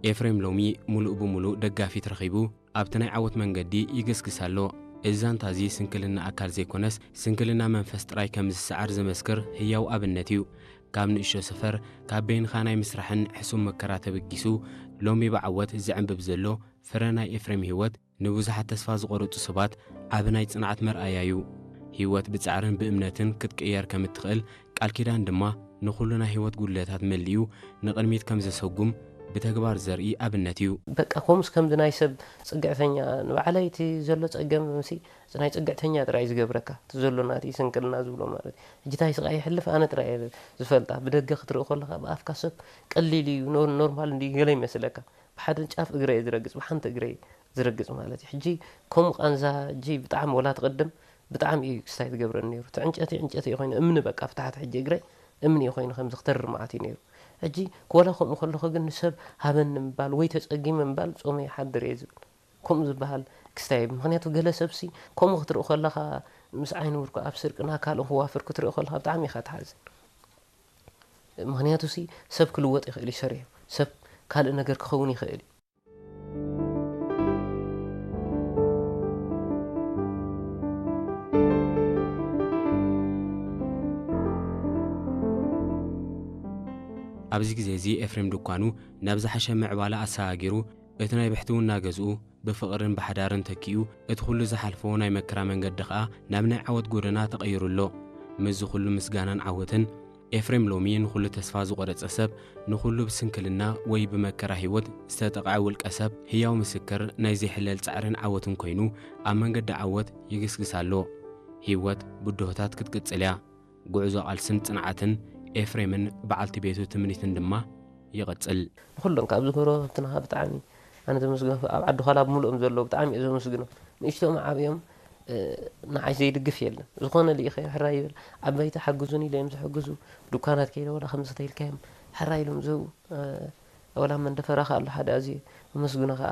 ኤፍሬም ሎሚ ሙሉእ ብሙሉእ ደጋፊት ረኺቡ ኣብቲ ናይ ዓወት መንገዲ ይግስግስ ኣሎ። እዚ ዛንታ እዚ ስንክልና ኣካል ዘይኮነስ ስንክልና መንፈስ ጥራይ ከም ዝሰዓር ዝመስክር ህያው ኣብነት እዩ። ካብ ንእሽቶ ሰፈር፣ ካብ በይንኻ ናይ ምስራሕን ሕሱም መከራ ተበጊሱ ሎሚ ብዓወት ዝዕንብብ ዘሎ ፍረ ናይ ኤፍሬም ህይወት ንብዙሓት ተስፋ ዝቖረጹ ሰባት ዓቢ ናይ ጽንዓት መርኣያ እዩ። ህይወት ብጻዕርን ብእምነትን ክትቅየር ከም እትኽእል፣ ቃል ኪዳን ድማ ንኹሉ ናይ ህይወት ጉድለታት መሊኡ ንቕድሚት ከም ዘሰጉም ብተግባር ዘርኢ ኣብነት እዩ። በቃ ከምኡስ ከምዚ ናይ ሰብ ጽግዕተኛ ንባዕለይ እቲ ዘሎ ጸገም ምሲ ናይ ጽግዕተኛ ጥራይ ዝገብረካ እቲ ዘሎ ናቲ ስንክልና ዝብሎ ማለት እዩ። ሕጂ ታይ ስቓይ ይሕልፍ ኣነ ጥራይ እየ ዝፈልጣ። ብደገ ክትርኢ ከለኻ ብኣፍካ ሰብ ቀሊል እዩ ኖር- ኖርማል እንዲ ገለ ይመስለካ። ብሓደ ጫፍ እግረ እየ ዝረግጽ ብሓንቲ እግረ እየ ዝረግጽ ማለት እዩ። ሕጂ ከምኡ ቃንዛ ሕጂ ብጣዕሚ ወላ ትቕድም ብጣዕሚ እዩ ክስታይ ዝገብረኒ ነይሩ። እቲ ዕንጨቲ ዕንጨቲ እዩ ኮይኑ እምኒ በቃ ብታሕቲ ሕጂ እግረይ እምኒ እዩ ኮይኑ ከምዚ ክተርር መዓት እዩ ነይሩ። ሕጂ ኮላ ከምኡ ከለኹ ግን ንሰብ ሃበኒ ምባል ወይ ተጸጊመ ምባል ጾመ ይሓድር እየ ዝብል። ከምኡ ዝበሃል ክስታይ ምክንያቱ ገለ ሰብሲ ከምኡ ክትርኢ ከለኻ ምስ ዓይኒ ውርኩ ኣብ ስርቅና ካልእ ክዋፍር ክትርኢ ከለኻ ብጣዕሚ ኢኻ ትሓዝን። ምክንያቱ ሲ ሰብ ክልወጥ ይኽእል እዩ ሰሪሑ ሰብ ካልእ ነገር ክኸውን ይኽእል እዩ። ኣብዚ ግዜ እዚ ኤፍሬም ድኳኑ ናብ ዝሓሸ ምዕባለ ኣሰጋጊሩ እቲ ናይ ብሕትውና ገዝኡ ብፍቕርን ብሓዳርን ተኪኡ እቲ ኩሉ ዝሓልፎ ናይ መከራ መንገዲ ኸኣ ናብ ናይ ዓወት ጎደና ተቐይሩ ኣሎ። ምስዚ ኩሉ ምስጋናን ዓወትን ኤፍሬም ሎሚ ንኹሉ ተስፋ ዝቖረጸ ሰብ፣ ንኹሉ ብስንክልና ወይ ብመከራ ህይወት ዝተጠቕዐ ውልቀ ሰብ ህያው ምስክር ናይ ዘይሕለል ጻዕርን ዓወትን ኮይኑ ኣብ መንገዲ ዓወት ይግስግስ ኣሎ። ህይወት ብድሆታት ክትቅጽል እያ። ጉዕዞ ቃልስን ጽንዓትን ኤፍሬምን በዓልቲ ቤቱ ትምኒትን ድማ ይቐጽል። ንኹሎም ካብ ዝጎረባብትና ብጣዕሚ ኣነ ዘመስግኖ ኣብ ዓዲ ኳላ ብምልኦም ዘለዉ ብጣዕሚ እየ ዘመስግኖም። ንእሽቶም ዓብዮም ንዓይ ዘይድግፍ የለን። ዝኾነ ልኢኸዮ ሕራይ ይብል። ዓበይቲ ሓግዙን ኢለ እዮም ዝሕግዙ። ድኳናት ከይደ ወላ ከምዚ ተይልካዮም ሕራይ ኢሎም ዝህቡ። ወላ መንደፈራ ከኣ ኣሎ ሓደ ኣዝየ ኣመስግኖ ከኣ።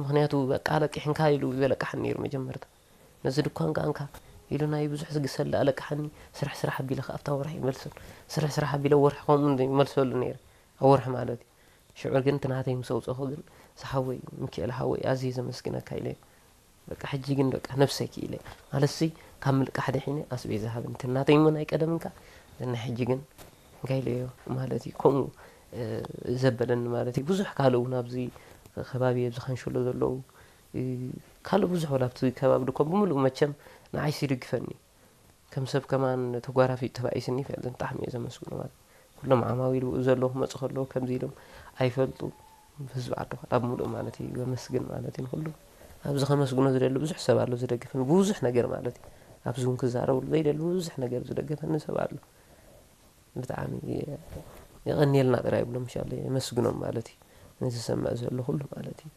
ምኽንያቱ በቃ ኣለቂሕንካ ኢሉ ይበለቅሓኒ ነይሩ መጀመርታ። ነዚ ድኳን ከኣ እንካ ኢሉ ናይ ብዙሕ ዝግሰል ኣለቅሓኒ። ስራሕ ስራሕ ኣቢለ ከኣ ኣብታ ወርሒ ይመልሰሉ። ስራሕ ስራሕ ኣቢለ ወርሒ ከምኡ ይመልሰሉ ነይረ። ኣብ ወርሒ ማለት እዩ። ሽዑ ግን እቲ ናተይ ምስ ኣውጸኹ ግን ዝሓወይ ሚኪኤል ሓወይ ኣዝየ ዘመስግነካ ኢለ። በቃ ሕጂ ግን በቃ ነብሰይ ክኢለ። ማለትሲ ካብ ምልቃሕ ድሒነ ኣስቤዛ ሃበኒ። እቲ ናተይ እሞ ናይ ቀደም እንካ ናይ ሕጂ ግን እንታይ ኢለዮ ማለት እዩ። ከምኡ ዘበለኒ ማለት እዩ። ብዙሕ ካልእ እውን ኣብዚ ከባቢ ኣብዚ ካንሸሎ ዘለዉ ካልእ ብዙሕ ወላ ኣብቲ ከባቢ ድኮ ብምሉእ መቸም ንዓይሲ ይድግፈኒ። ከም ሰብ ከማን ተጓራፊ ተባኢስኒ ይፈልጥን ብጣዕሚ እየ ዘመስግኖ ማለት ኩሎም ዓማዊል ብኡ ዘለዉ ክመፁ ከለዉ ከምዚ ኢሎም ኣይፈልጡ። ህዝቢ ዓዲ ካብ ሙሉእ ማለት እዩ ዘመስግን ማለት እዩ ንኩሉ። ኣብዚ ከመስግኖ ዝደሊ ብዙሕ ሰብ ኣሎ ዝደግፈኒ ብዙሕ ነገር ማለት እዩ። ኣብዚ እውን ክዛረብሉ ዘይደሊ ብዙሕ ነገር ዝደገፈኒ ሰብ ኣሎ። ብጣዕሚ የቐንየልና ጥራይ ይብሎም ሻለ የመስግኖም ማለት እዩ። ንዝሰምዕ ዘሎ ኩሉ ማለት እዩ።